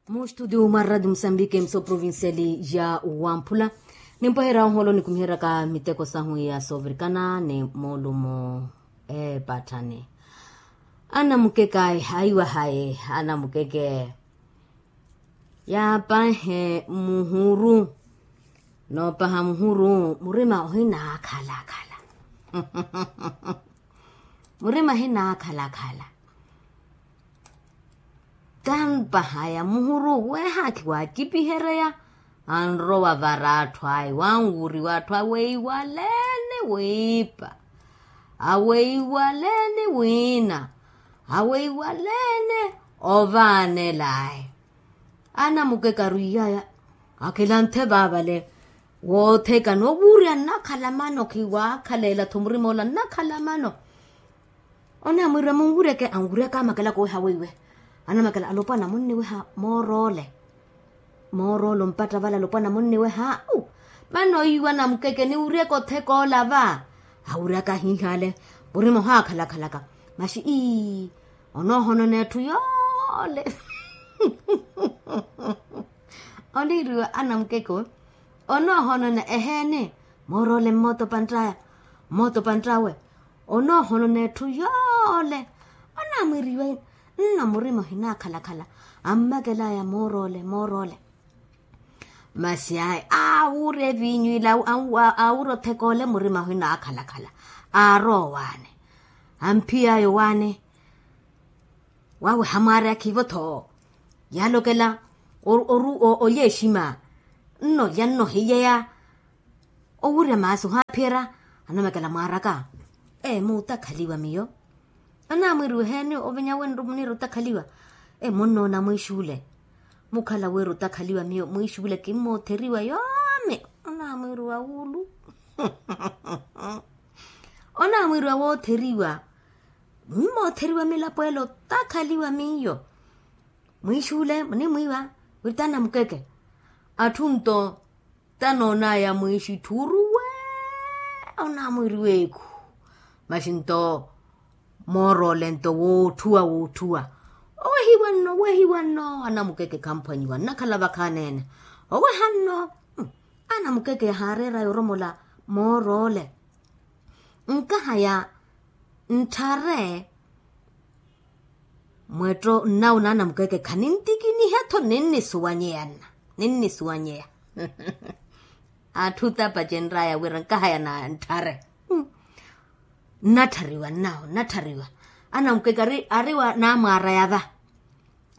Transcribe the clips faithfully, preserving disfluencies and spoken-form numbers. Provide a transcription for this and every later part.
Mustudio mwa radio musambike mso provinciali ya wamphula. Nimpweherya oholo nikumiheryaka miteko sahu ya sovirikana ni molumo epatthani. Anamukeke ayi ayiwahaye anamukeke. Yaapahe muhuru. Noopaha muhuru murima ohinaakhalakhala. Murima ohinaakhalakhala. Kanpahaya muhuru weehaakhi waacipihereya. Anrowa vara atthu ayi wanwuriwa atthu aweiwalene wiipa, aweiwalene wiina, aweiwalene ovaanelaye. Anamukeke arwiyaya akilanthe vaavale wootheka ni owurya nnakhala mano khiwaakhalela-tho murima ola nnakhala mano. Onaamwirya munwuryeke anwuryaka amakela koowiha weiwe. Anamakela alopwana munniwiha mooroole. Mooroole ompatta vale alopwana munniwiha. Au. Mano iwe anamukeke niwuryeke otheka ola va. Awuryaka ahiihale murima ohaakhalakhalaka. Maxi ii onoohonona etthu yoole. Oniiriwa anamukeke owe onoohonona eheeni. Mooroole mmootopantt'aya mmootopantt'awe onoohonona etthu yoole. Onaamwiriwa nno murima ohinaakhalakhala. Ammakel'aya mooroole mooroole. Masi ayi aawurya eviinyu ile aawurya otheka ole murima ohinaakhalakhala. Aarowa owaani amphiy'aya owaani. Waweha mwaari akhivo-tho yaalokela oru olya exima. Nnolya nnohiyeya owurya maasi ohaaphiyerya. Anamekela mwaaraka ee muutakhaliwa miyo. Anaamwiiriwa eheeni ovinya wenru muniira otakhaliwa ee munnoona mwiixuule. Mukhala wira otakhaliwa miyo mwiixuule kimmootheriwa yoomi. Anaamwiiriwa wuulu. Anaamwiiriwa wootheriwa mmootheriwa milapo ela otakhaliwa miyo. Mwiixuule munimwiiwa wira t'anamukeke. Atthu nto tanoon'aya mwiixitthuru wee. Onaamwiiriwa ekhu maxi nto mooroole nto wootthuwa wootthuwa. Owehiwa nno owehiwa nno anamukeke khamphwanyiwa nnakhala vakhaani-ene. Oweha nno. Anamukeke yahaareer'aya oromola mooroole. Nkahaya ntthare. Mwetto nnawo naanamukeke khanintikiniha-tho ninnisuwanyeya nna ninnisuwanyeya. Atthu tapacenr'aya wira nkahaya na ntthare. Nnatthariwa nnawo nnatthariwa. Anamukeke ari ari wa naamwaaraya va.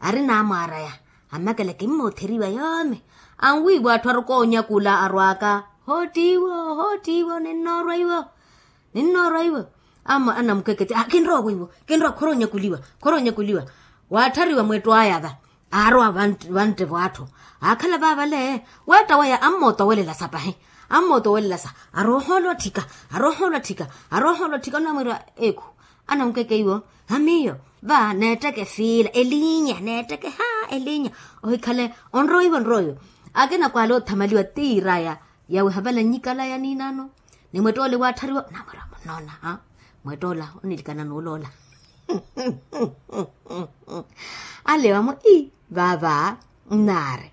Ari naamwaaraya amakela kimmootheriwa yoomi. Anwiiwa atthu arukoonya kula arwaaka hoottiiwo hoottiiwo ninnoorwa iwo. Ninnoorwa iwo. Anamukeke ti kinrowa iwo kinrowa khoroonyakuliwa. Khoroonyakuliwa. Waatthariwa mwetto aya va. Aarowa vantte v'atthu aakhala vaavale. Weetta waya ammootowelela sa pahi. Ammootowelela sa aroohoolwa tthika. Aroohoolwa tthika. Aroohoolwa tthika onamwiira ekhu. Anamukeke iwo. Amiyo va neetteke fiila elinya neetteke ha elinya. Ohikhale onroiwe onroiwe. Akina kwaala othamaliwa tiiraya yawe havala nnyikala ya niinano. Ni mwett'ole waatthariwa namwira munnoona. Mwett'ola onilikana n'uloola. Alewa-mo ii vaava nnaari.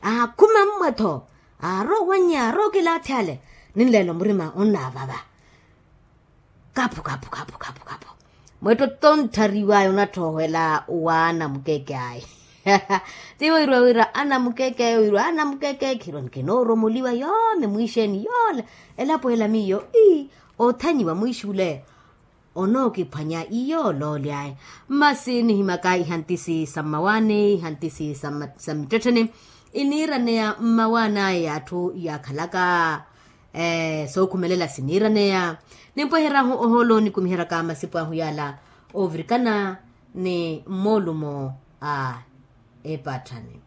Aakhuma mmwe-tho aarowa owannya aarowa okilaathi ale. Ninleela omurima onnaavava. Kaphu kaphu kaphu kaphu kaphu. Mwetto tonttariw'aya onatthoohwela waana mukeke ayi. Tiwo wirwa wira ana mukeke wirwa ana mukeke khirwa nkinooromoliwa yoomi mwiixeeni yoola. Elapo ela miyo ii othanyiwa mwiixuule. Onookiphwanya iyo oloolyaye. Masi nihimaka ihantisi sa mmawaani ihantisi sa mittettheni iniiraneya mmawaani aya y'atthu yaakhalaka. Sookhumelela siniiraneya. Nimpwehery'ahu ohoolo nikumiheryaka masipu ahu yaala oovirikana ni mmoolumo a epatthani.